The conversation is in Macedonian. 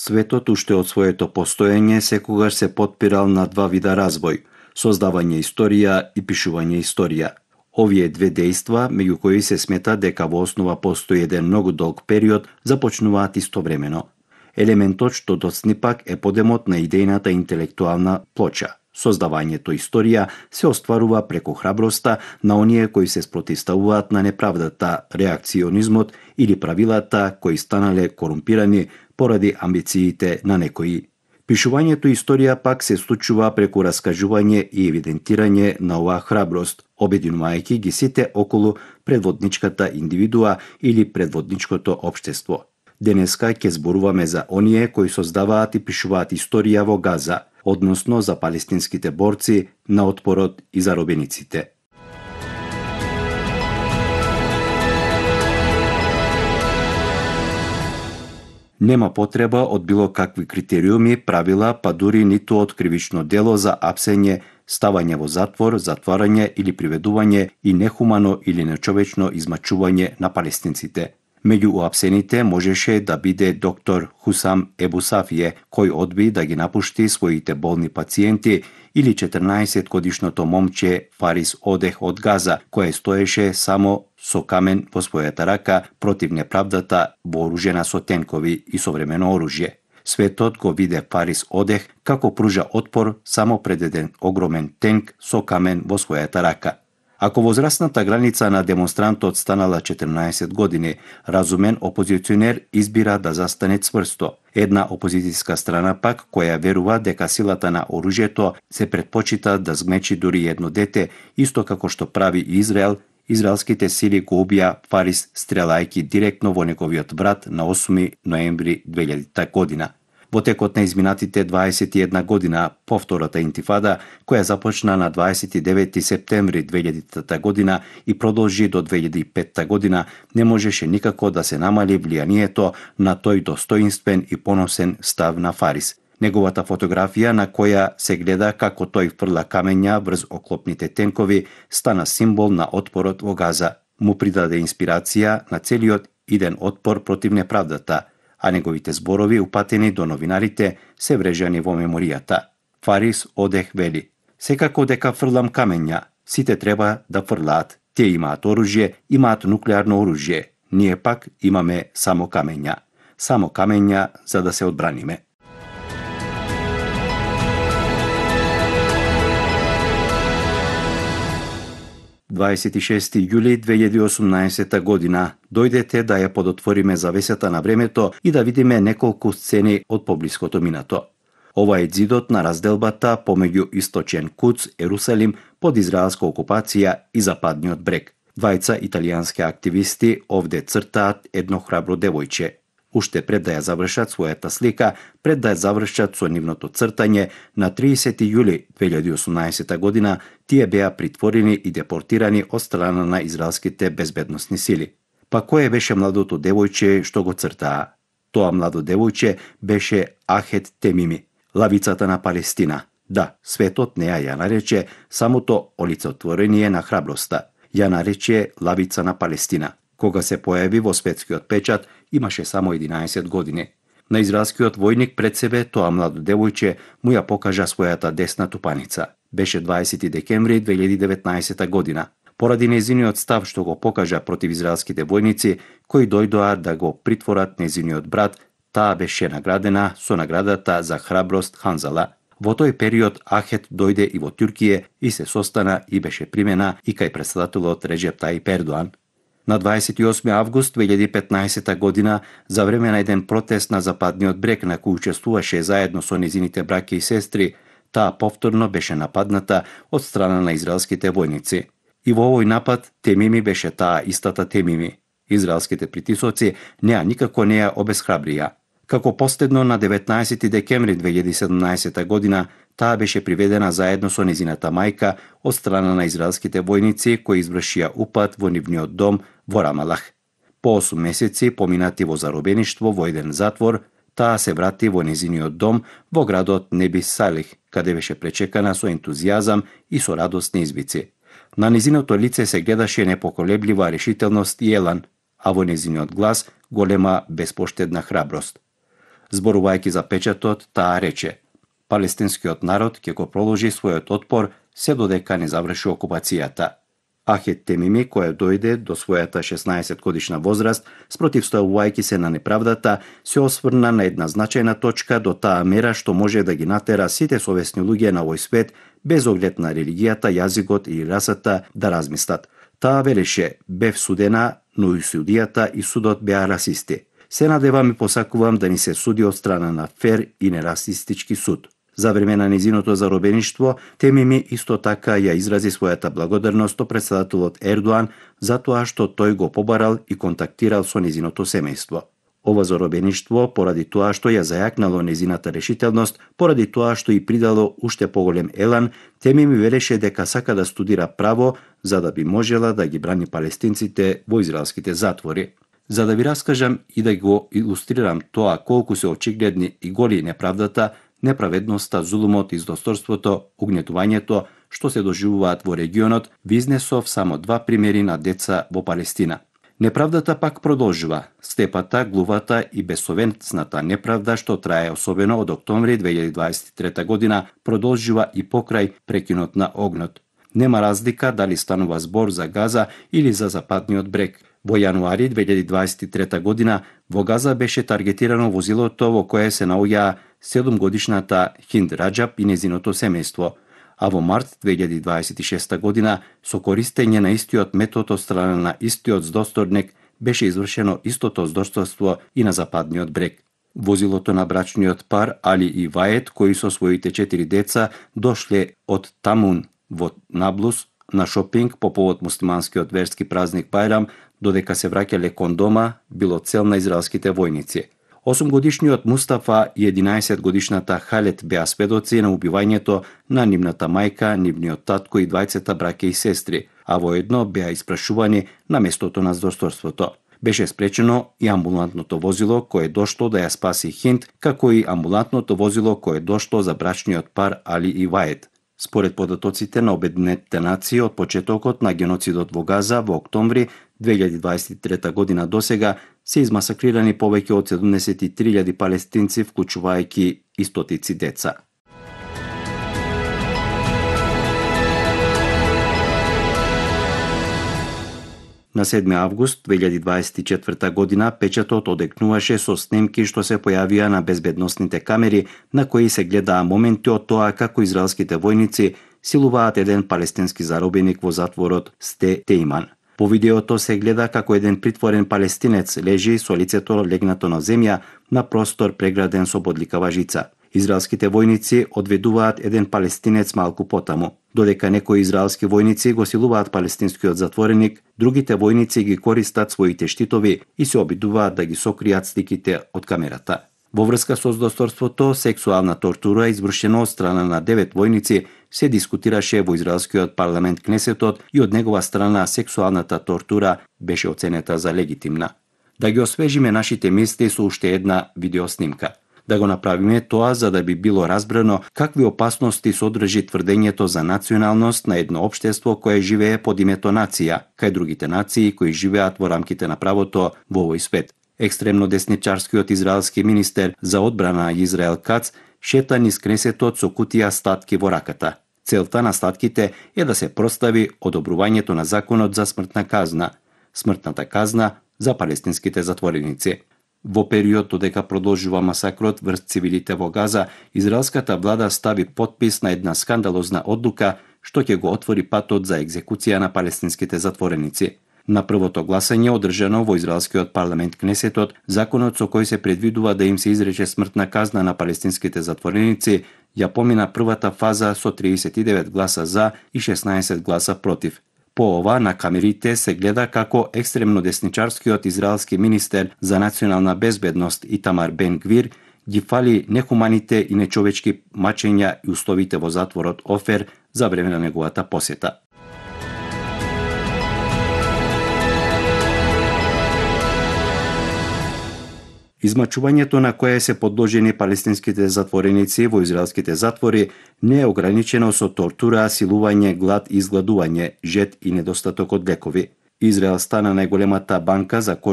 Светот уште од своето постоење секогаш се потпирал на два вида развој – создавање историја и пишување историја. Овие две дејства, меѓу кои се смета дека во основа постои еден многу долг период, започнуваат истовремено. Елементот што доцни пак е подемот на идејната интелектуална плоча. Создавањето историја се остварува преку храброста на оние кои се спротивставуваат на неправдата, реакционизмот или правилата кои станале корумпирани поради амбициите на некои. Пишувањето историја пак се случува преку раскажување и евидентирање на оваа храброст, обединувајќи ги сите околу предводничката индивидуа или предводничкото општество. Денеска ќе зборуваме за оние кои создаваат и пишуваат историја во Газа, односно за палестинските борци на отпорот и заробениците. Нема потреба од било какви критериуми, правила, па дури ниту од кривично дело за апсење, ставање во затвор, затварање или приведување и нехумано или нечовечно измачување на палестинците. Меѓу уапсените можеше да биде доктор Хусам Ебу Сафие, кој одби да ги напушти своите болни пациенти, или 14-годишното момче Фарис Одех од Газа, кое стоеше само со камен во својата рака против неправдата, вооружена со тенкови и современо оружје. Светот го виде Фарис Одех како пружа отпор само пред еден огромен тенк со камен во својата рака. Ако возрастната граница на демонстрантот станала 14 години, разумен опозиционер избира да застане цврсто. Една опозицијска страна пак, која верува дека силата на оружјето се предпочита да згмечи дури едно дете, исто како што прави Израел, израелските сили го убија Фарис стрелајќи директно во неговиот врат на 8 ноември 2000 година. Во текот на изминатите 21 година по втората интифада, која започна на 29 септември 2000 година и продолжи до 2005 година, не можеше никако да се намали влијанието на тој достоинствен и поносен став на Фарис. Неговата фотографија на која се гледа како тој фрла камења врз оклопните тенкови стана символ на отпорот во Газа. Му придаде инспирација на целиот иден отпор против неправдата, а неговите зборови упатени до новинарите се врежани во меморијата. Фарис Одех вели: "Секако дека фрлам камења, сите треба да фрлаат. Тие имаат оружје, имаат нуклеарно оружје. Ние пак имаме само камења. Само камења за да се одбраниме." ...26 јули 2018 година, дојдете да ја подотвориме завесата на времето и да видиме неколку сцени од поблиското минато. Ова е ѕидот на разделбата помеѓу Источен Куц, Ерусалим, под израелска окупација и Западниот брег. Двајца италијански активисти овде цртаат едно храбро девојче. Уште пред да ја завршат својата слика, пред да ја завршат со нивното цртање, на 30 јули 2018 година тие беа притворени и депортирани од страна на израелските безбедносни сили. Па кое беше младото девојче што го цртаа? Тоа младо девојче беше Ахет Темими, лавицата на Палестина. Да, светот не ја нарече самото олицетворение на храброста. Ја нарече лавица на Палестина. Кога се појави во светскиот печат, имаше само 11 години. На израелскиот војник пред себе тоа младо девојче му ја покажа својата десна тупаница. Беше 20 декември 2019 година. Поради незиниот став што го покажа против израелските војници, кои дојдоа да го притворат незиниот брат, таа беше наградена со наградата за храброст Ханзала. Во тој период Ахет дојде и во Туркија и се состана и беше примена и кај претседателот Реджеп Тајип Ердоан. На 28 август 2015 година, за време на еден протест на Западниот брег на кој учествуваше заедно со незините браќа и сестри, таа повторно беше нападната од страна на израелските војници. И во овој напад Темими беше таа истата Темими. Израелските притисоци никако не ја обесхрабрија. Како последно на 19 декември 2017 година, таа беше приведена заедно со незината мајка од страна на израелските војници кои извршија упад во нивниот дом во Рамалах. По 8 месеци поминати во заробеништво во еден затвор, таа се врати во незиниот дом во градот Неби Салих, каде беше пречекана со ентузијазам и со радосни извици. На незиното лице се гледаше непоколеблива решителност и елан, а во незиниот глас голема безпоштедна храброст. Зборувајќи за печатот, таа рече: "Палестинскиот народ ќе го продолжи својот отпор се додека не заврши окупацијата." Ахет Темими, која дојде до својата 16 годишна возраст, спротивставувајќи се на неправдата, се осврна на една значајна точка до таа мера што може да ги натера сите совесни луѓе на овој свет, без оглед на религијата, јазикот или расата, да размислат. Таа велеше: "Бев судена, но и судијата и судот беа расисти. Се надевам и посакувам да ни се суди од страна на фер и нерасистички суд." За време на незиното заробеништво, Темими исто така ја изрази својата благодарност до претседателот Ердоан за тоа што тој го побарал и контактирал со незиното семејство. Ова заробеништво, поради тоа што ја зајакнало незината решителност, поради тоа што и придало уште поголем елан, Темими велеше дека сака да студира право за да би можела да ги брани палестинците во израелските затвори. За да ви раскажам и да го илустрирам тоа колку се очигледни и голи неправдата, неправедноста, зулумот, издосторството, угнетувањето што се доживуваат во регионот, ви изнесов само 2 примери на деца во Палестина. Неправдата пак продолжува. Степата, глувата и безсовесната неправда што трае особено од октомври 2023 година продолжува и покрај прекинот на огнот. Нема разлика дали станува збор за Газа или за Западниот брег. Во јануари 2023 година во Газа беше таргетирано возилото во кое се наоѓаа 7-годишната Хинд Раџаб и незиното семејство, а во март 2026 година со користење на истиот метод од страна на истиот здосторник беше извршено истото здорство и на Западниот брег. Возилото на брачниот пар Али и Ваед, кои со своите 4 деца дошле од Тамун во Наблус на шопинг по повод муслиманскиот верски празник Бајрам, додека се враќале кон дома, било цел на израелските војници. 8-годишниот Мустафа и 11-годишната Халет беа сведоци на убивањето на нивната мајка, нивниот татко и двајцата браќа и сестри, а воедно беа испрашувани на местото на здорството. Беше спречено и амбулантното возило кое дошло да ја спаси Хинд, како и амбулантното возило кое дошло за брачниот пар Али и Ваед. Според податоците на Обединетите нации од почетокот на геноцидот во Газа во октомври 2023 година досега се измасакрирани повеќе од 73.000 палестинци, вклучувајќи и стотици деца. На 7 август 2024 година печатот одекнуваше со снимки што се појавија на безбедносните камери на кои се гледаа моменти од тоа како израелските војници силуваат еден палестински заробеник во затворот Сте Тејман. По видеото се гледа како еден притворен палестинец лежи со лицето легнато на земја на простор преграден со бодликава жица. Израелските војници одведуваат еден палестинец малку потаму. Додека некои израелски војници го силуваат палестинскиот затвореник, другите војници ги користат своите штитови и се обидуваат да ги сокријат сликите од камерата. Во врска со здосторството, сексуална тортура извршена од страна на 9 војници се дискутираше во израелскиот парламент Кнесетот и од негова страна сексуалната тортура беше оценета за легитимна. Да ги освежиме нашите мисли со уште една видеоснимка. Да го направиме тоа за да би било разбрано какви опасности содржи тврдењето за националност на едно општество кое живее под името нација, кај другите нации кои живеат во рамките на правото во овој свет. Екстремно десничарскиот израелски министер за одбрана Израел Кац шета низ Кнесетот со кутија статки во раката. Целта на статките е да се простави одобрувањето на законот за смртната казна за палестинските затвореници. Во период додека продолжува масакрот врз цивилите во Газа, израелската влада стави потпис на една скандалозна одлука што ќе го отвори патот за екзекуција на палестинските затвореници. На првото гласање одржано во израелскиот парламент Кнесетот, законот со кој се предвидува да им се изрече смртна казна на палестинските затвореници ја помина првата фаза со 39 гласа за и 16 гласа против. По ова на камерите се гледа како екстремно десничарскиот израелски министер за национална безбедност Итамар Бен Гвир ги фали нехуманите и нечовечки мачења и условите во затворот Офер за време на неговата посета. Измачувањето на кое се подложени палестинските затвореници во израелските затвори не е ограничено со тортура, силување, глад и изгладување, жет и недостаток од лекови. Израел стана најголемата банка за кожа